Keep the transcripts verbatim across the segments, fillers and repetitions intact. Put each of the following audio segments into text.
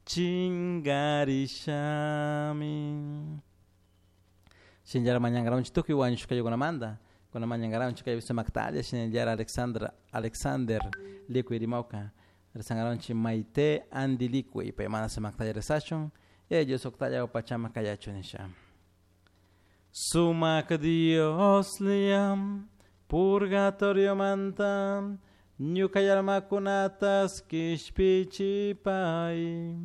Chingarishami. Shinallara mañankaranchik tukuy wañushkaykunamanta kuna mañankaranchik kay sumaktalla shinallara Alexandra Alexander Licuy rimawka rezankaranchik Maite Andy Licuy paymanta sumaktalla rezashun ellos uktalla pachama kayachun nisha. Sumak Dios liam purgatorio manta ñuka almakunatas kishpichipay.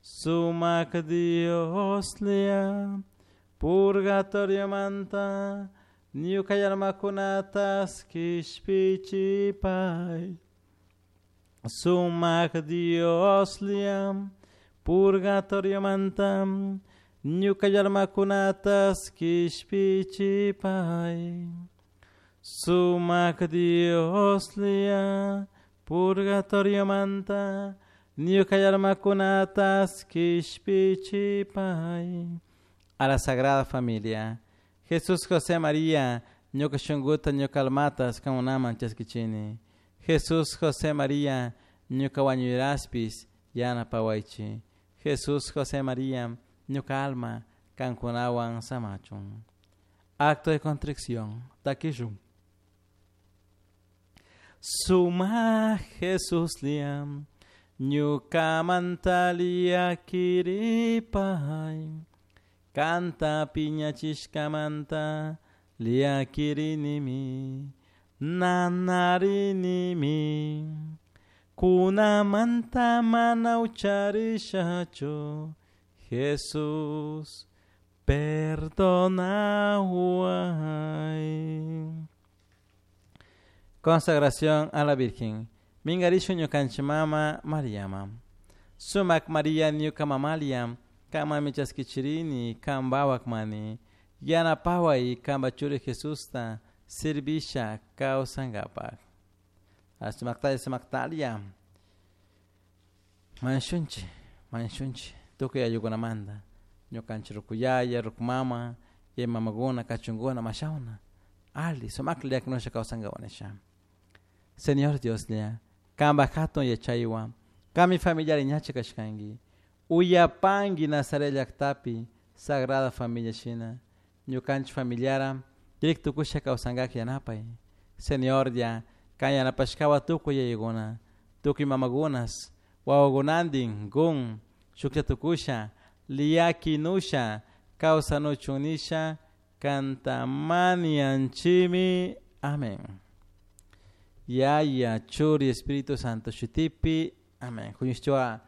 Sumak Dios lia purgatorio manta ñuka almakunatas kishpichipay. Sumak Dios lia purgatorio manta ñuka almakunatas kishpichipay. Sumak Dios lia purgatorio manta ñuka almakunatas kishpichipay. A la Sagrada Familia. Jesús José María ñuka shunkuta ñuka almatas kankunaman chaskichini. Jesús José María ñuka wañuyraspis yanapawaychik. Jesús José María ñuka alma kankunawan samachun. Acto de contrición. Takishun. Suma Jesús liam ñukamanta llakiripay. Kanta piñachishkamanta llakirinimi nanarinimi. Kunamanta mana ucharishachu Jesús perdonaway. Consagración a la Virgen. Mingarishu ñukanchik mama Mariama. Sumak María ñuka mamalia kanmanmi chaskichirini kanpak mani. Yanapaway kanpa churi Jesusta servisha kawsankapak. Sumaktalla sumaktalla. Mañashunchik, mañashunchik tukuy ayukunamanta. Ñukanchik rukuyaya, rukumama, y mamakuna, kachunkuna, mashawna. Ali, sumaklla llakinusha kawsankapak nisha. Señor Dios lia, kanpak hatun yachaywan, kanmi familiar ñacha kashkanki. Uyapanki Nazaret llaktapi Sagrada Familia shina. Ñukanchik familiara kirik tukusha kawsankak yanapay. Señor ya, kan yanapashkawa tukuy yayakuna, tukuy mamakunas, wawakunantin kun shuklla tukusha, llakinusha kawsanuchun nisha kanta mañanchikmi. Amén. Yaya, Churi, Espíritu Santo shutipi. Amén. Huñushchua